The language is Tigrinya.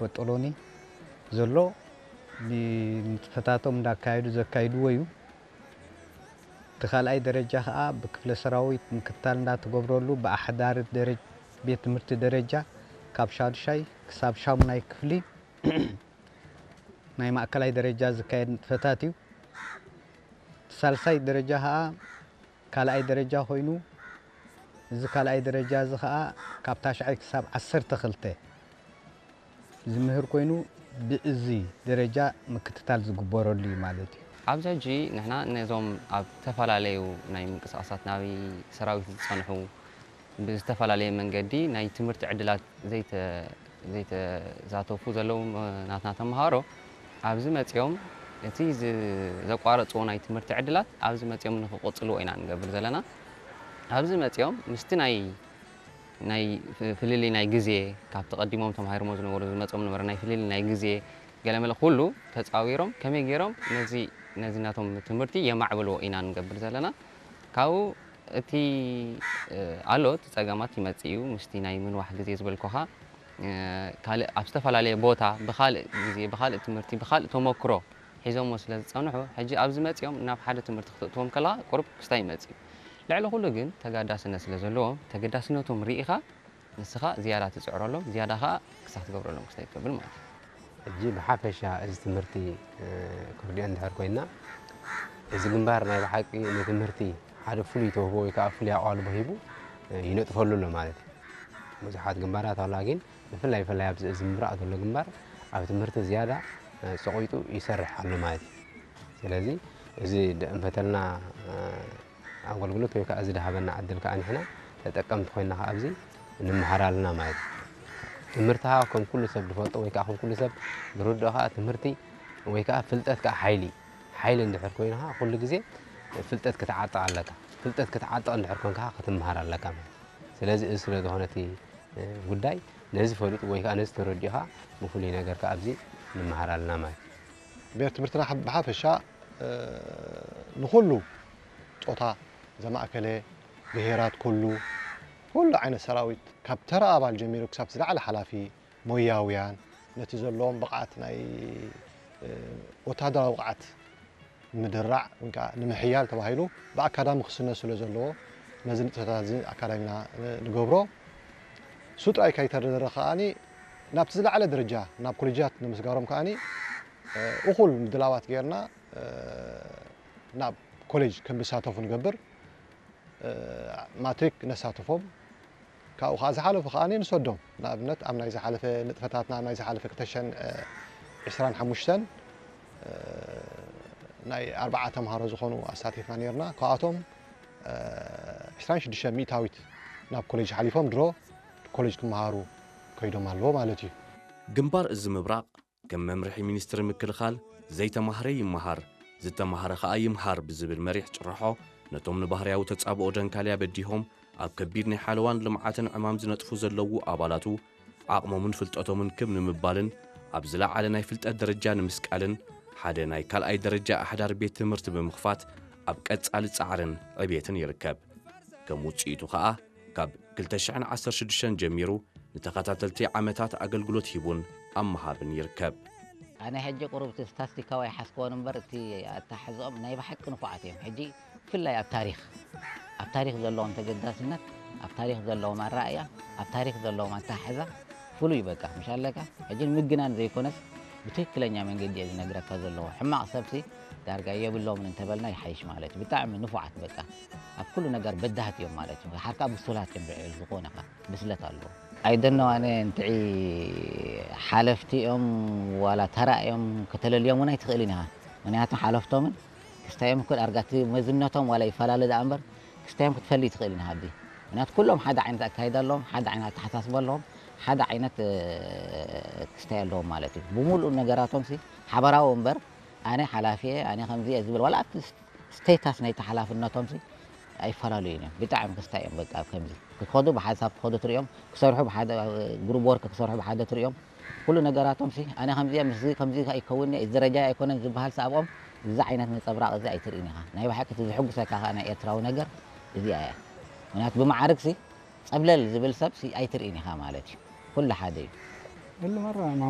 ወጠሎኒ ዘሎ ንጥፈታቶም እንዳካየዱ ዘካይድዎ እዩ። እቲ ካልኣይ ደረጃ ከዓ ብክፍለ ሰራዊት ምክትታል እንዳተገብረሉ ብኣሕዳሪ ደረ- ቤት ትምህርቲ ደረጃ ካብ ሻዱሻይ ክሳብ ሻሙናይ ክፍሊ ናይ ማእከላይ ደረጃ ዝካየድ ንጥፈታት እዩ። እቲ ሳልሳይ ደረጃ ከዓ ካልኣይ ደረጃ ኮይኑ፣ እዚ ካልኣይ ደረጃ እዚ ከዓ ካብ ታሽዓይ ክሳብ ዓሰርተ ክልተ ዝምህር ኮይኑ፣ ብእዚ ደረጃ ምክትታል ዝግበረሉ እዩ ማለት እዩ። ኣብዚ ሕጂ ንሕና ነዞም ኣብ ዝተፈላለዩ ናይ ምንቅስቃሳት ናይ ሰራዊት ዝጸንሑ ብዝተፈላለየ መንገዲ ናይ ትምህርቲ ዕድላት ዘይተ ዘይተዛተፉ ዘለዉ ናትና ተምሃሮ ኣብዚ መጺኦም እቲ ዝ- ዘቋረጽዎ ናይ ትምህርቲ ዕድላት ኣብዚ መጺኦም ንኽቕጽልዎ ኢና ንገብር ዘለና። ኣብዚ መጺኦም ምስቲ ናይ ናይ ፍ- ፍልልይ ናይ ግዜ ካብቲ ቀዲሞም ተማሂሮሞ ዝነበሩ ዝመጾም ነበረ ናይ ፍልልይ ናይ ግዜ ገለመለ ኩሉ ተጻዊሮም ከመይ ገይሮም ነዚ ነዚ ናቶም ትምህርቲ የማዕብልዎ ኢና ንገብር ዘለና። ካብኡ እቲ እ፣ ኣሎ እቲ ጸገማት ይመጽእ እዩ ምስቲ ናይ ምንዋሕ ግዜ ዝበልኩኻ እ፣ ካልእ ኣብ ዝተፈላለየ ቦታ ብኻልእ ግዜ ብኻልእ ትምህርቲ ብኻልእ ተመክሮ ሒዞሞ ስለ ዝጸንሑ ሕጂ ኣብዚ መጺኦም ናብ ሓደ ትምህርቲ ክትእትዎም ከለኻ ቁሩብ ክስታይ ይመጽእ እዩ። ልዕሊ ኩሉ ግን ተጋዳስነት ስለ ዘለዎም ተገዳስነቶም ርኢኻ ንስኻ ዝያዳ ትጽዕረሎም ዝያዳ ኸኣ ክሳብ ትገብረሎም ክስታይ ትገብር ማለት እዩ። ሕጂ ብሓፈሻ እዚ ትምህርቲ እ፣ ክርድኦ እንድሕር ኮይና እዚ ግንባር ናይ ብሓቂ ንትምህርቲ ሓደ ፍሉይ ተውህቦ ወይ ከዓ ፍሉይ ኣቓልቦ ሂቡ እ፣ ይነጥፈሉ ኣሎ ማለት እዩ። ብዙሓት ግንባራት ኣላ ግን ብፍላይ ብፍላይ ኣብዚ እዚ ምብራቕ ዘሎ ግንባር ኣብ ትምህርቲ ዝያዳ እ፣ ጸቒጡ ይሰርሕ ኣሎ ማለት እዩ። ስለዚ እዚ ደእንፈተልና እ፣ ኣገልግሎት ወይ ከዓ እዚ ድሃበና ዕድል ከዓ ንሕና ተጠቀምቲ ኮይና ከዓ ኣብዚ ንምሃር ኣለና ማለት እዩ። ትምህርቲ ከዓ ከም ኩሉ ሰብ ዝፈልጦ ወይ ከዓ ከም ኩሉ ሰብ ዝርድኦ ከዓ ትምህርቲ ወይ ከዓ ፍልጠት ከዓ ሓይሊ ሓይሊ እንድሕር ኮይኑ ከዓ ኩሉ ግዜ ፍልጠት ክትዓጥቕ ኣለካ። ፍልጠት ክትዓጥቕ እንድሕር ኮንካ ከዓ ክትምሃር ኣለካ ማለት እዩ። ስለዚ እዚ ስለ ዝኾነ እቲ ጉዳይ ነዚ ፈሊጡ ወይ ከዓ ነዚ ተረዲኡ ከዓ ብፍሉይ ነገር ከዓ ኣብዚ ንምሃር ኣለና ማለት እዩ። ቤት ትምህርትና ብሓፈሻ ንኹሉ ጾታ ዘማእከለ ብሄራት ኩሉ ኩሉ ዓይነት ሰራዊት ካብ ተራ ኣባል ጀሚሩ ክሳብ ዝለዓለ ሓላፊ ሞያውያን ነቲ ዘለዎም ብቕዓት ናይ ወታደራዊ ብቕዓት ንምድራዕ ወይ ከዓ ንምሕያል ተባሂሉ ብኣካዳሚ ክስነ ስለ ዘለዎ ነዚ ንጥፈታት እዚ ኣካዳሚና ንገብሮ። እሱ ጥራይ ከይተደረረ ከዓኒ ናብቲ ዝለዓለ ደረጃ ናብ ኮሌጃት ንምስጋሮም ከዓኒ እኹል ምድላዋት ጌርና ናብ ኮሌጅ ከም ዝሳተፉ ንገብር። ማትሪክ ነሳትፎም ካብኡ ከዓ ዝሓለፉ ከዓ ንሰዶም ንኣብነት ኣብ ናይ ዝሓለፈ ንጥፈታትና ኣብ ናይ ዝሓለፈ ክልተ ሽሕን ዕስራን ሓሙሽተን ናይ ኣርባዓ ተምሃሮ ዝኾኑ ኣሳቲፍና ነርና ካብኣቶም ዕስራን ሽዱሽተ ሚእታዊት ናብ ኮሌጅ ሓሊፎም ድሮ ኮሌጅ ክመሃሩ ከይዶም ኣለዎ ማለት እዩ። ግንባር እዚ ምብራቕ ከም መምርሒ ሚኒስትሪ ምክልኻል ዘይተማህረ ይመሃር ዝተማህረ ኸኣ ይምሃር ብዝብል መሪሕ ጭርሖ ነቶም ንባህርያዊ ተጻብኦ ደንካልያ በዲሆም ኣብ ከቢድ ናይ ሓለዋን ልምዓትን ዕማም ዝነጥፉ ዘለዉ ኣባላቱ ዓቕሞምን ፍልጠቶምን ክብ ንምባልን ኣብ ዝለዓለ ናይ ፍልጠት ደረጃ ንምስቃልን ሓደ ናይ ካልኣይ ደረጃ ኣሕዳር ቤት ትምህርቲ ብምኽፋት ኣብ ቀጻሊ ጻዕርን ዕቤትን ይርከብ። ከም ውጽኢቱ ኸኣ ካብ ክልተ ሽሕን ዓሰርተ ሽዱሽተን ጀሚሩ ንተኸታተልቲ ዓመታት ኣገልግሎት ሂቡን ኣብ ምሃብን ይርከብ። ኣነ ሕጂ ቁሩብ እቲ ስታስቲካዊ ኣይሓዝክዎን እምበር እቲ ኣተሓሕዝኦም ናይ ብሓቂ ንፉዓት እዮም። ሕጂ ብፍላይ ኣብ ታሪኽ ኣብ ታሪኽ ዘለዎም ተገዳስነት ኣብ ታሪኽ ዘለዎም ኣረኣእያ ኣብ ታሪኽ ዘለዎም ኣተሓሕዛ ፍሉይ በቃ ምሽ ኣለካ ሕጂ ንምግናን ዘይኮነስ ብትክክለኛ መንገዲ እየ ዝነግረካ ዘለኹ ሕማቕ ሰብሲ ዳርጋ የብሎምን እንተበልና ይሓይሽ ማለት እዩ ብጣዕሚ ንፉዓት በቃ ኣብ ኩሉ ነገር በዳህት እዮም ማለት እዩ ሓርካ ብሱላት እዮም ልዕሊ ዝኾነ ብስለት ኣለዎ ኣይደኖ ኣነ እንትዒ ሓለፍቲ እዮም ዋላ ተራ እዮም ከተለልዮም እውን ኣይትኽእልን ኢኻ ምክንያቱ ሓለፍቶምን ክስታዮም እኮ ዳርጋ እቲ መዝነቶም ዋላ ይፈላለ ደኣ እምበር ክስታዮም ክትፈሊ ትኽእል ኢና ኣብዚ ምክንያቱ ኩሎም ሓደ ዓይነት ኣካይዳ ኣለዎም ሓደ ዓይነት ኣተሓሳስባ ኣለዎም ሓደ ዓይነት ክስታይ ኣለዎም ማለት እዩ ብምሉእ ነገራቶም ሲ ሓበራዊ እምበር ኣነ ሓላፊ እየ ኣነ ከምዚ እየ ዝብል ዋላ ኣብቲ ስቴታስ ናይቲ ሓላፍነቶም ሲ ኣይፈላለዩን እዮም ብጣዕሚ ክስታይ እዮም በቃ ኣብ ከምዚ ክትኸዱ ብሓንሳብ ክኸዱ ትሪኦም ክሰርሑ ብሓደ ግሩብ ወርክ ክሰርሑ ብሓደ ትሪኦም ኩሉ ነገራቶም ሲ ኣነ ከምዚ እየ ምስዚ ከምዚ ኣይከውን እየ እዚ ደረጃ ኣይኮነን ዝበሃል ሲ ኣብኦም እዚ ዓይነት ነፀብራቕ እዚ ኣይትርእን ኢኻ ናይ ብሓቂ እቲ ዝሕጉሰካ ከዓ ናይ ኤርትራዊ ነገር እዚኣ እያ ምክንያቱ ብመዓርግ ሲ ፀብለል ዝብል ሰብ ሲ ኣይትርእን ኢኻ ማለት እዩ ኩሉ ሓደ እዩ